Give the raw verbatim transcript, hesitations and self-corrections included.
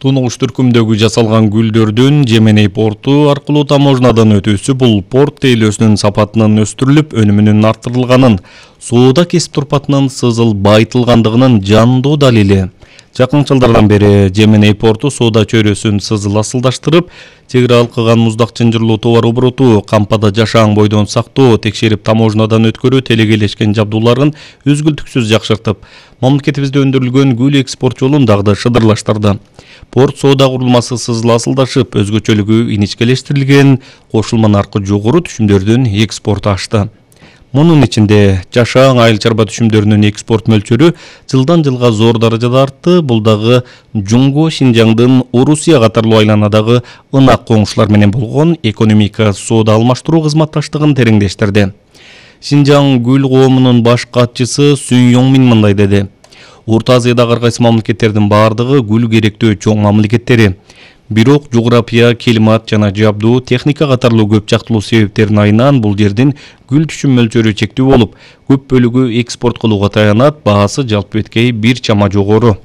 Тунугуш түркүмдөгү жасалган гүлдөрдүн Жеменей порту аркылуу таможнядан өтүүсү бул порт тейлөөсүнүн сапатынын өстүрүлүп, өнүмүнүн арттырылганын, соода кесип турпатынын сызыл байытылгандыгынын жандуу далили. Жакын жылдардан бери Жеменей порту соода чөйрөсүн сызыл асылдаштырып, чек ара алкыган муздак чынжырлуу товар обороту, кампада жашаан бойдон сактоо, текшерип таможнядан өткөрүү телегейлешкен жабдууларын үзгүлтүксүз жакшыртып, мамлекетибизде өндүрүлгөн гүл экспорт жолун дагы да шыдырлаштырды. Порт соода курулмасы сызыл асылдашып, өзгөчөлүгү иничкелештирилген, кошулма наркы жогору түшүмдөрдүн экспорту ашты. Мунун ичинде жашаан айыл чарба түшүмдөрүнүн экспорт мөлчөрү жылдан жылга зор даражада артты. Бул дагы Жумго Шинжаңдын Орусия катарлуу айланадагы ынак коңшулар менен болгон экономика соода алмаштыруу кызматташтыгын тереңдештирди. Шинжаң гүл коомунун баш катчысы Сүн Йоңмин мындай деди: Орто Азиядагы ар кайсы мамлекеттердин бардыгы гүл керектөө чоң мамлекеттери. Бирок жография, климат жана жабдуу, техника катарлуу көп жактылуу себептердин айынан бул жердин гүл түшүм мөлчөрү чектүү болуп, көп бөлүгү экспорт кылууга таянат, баасы жалпы беткей бир чама жогору.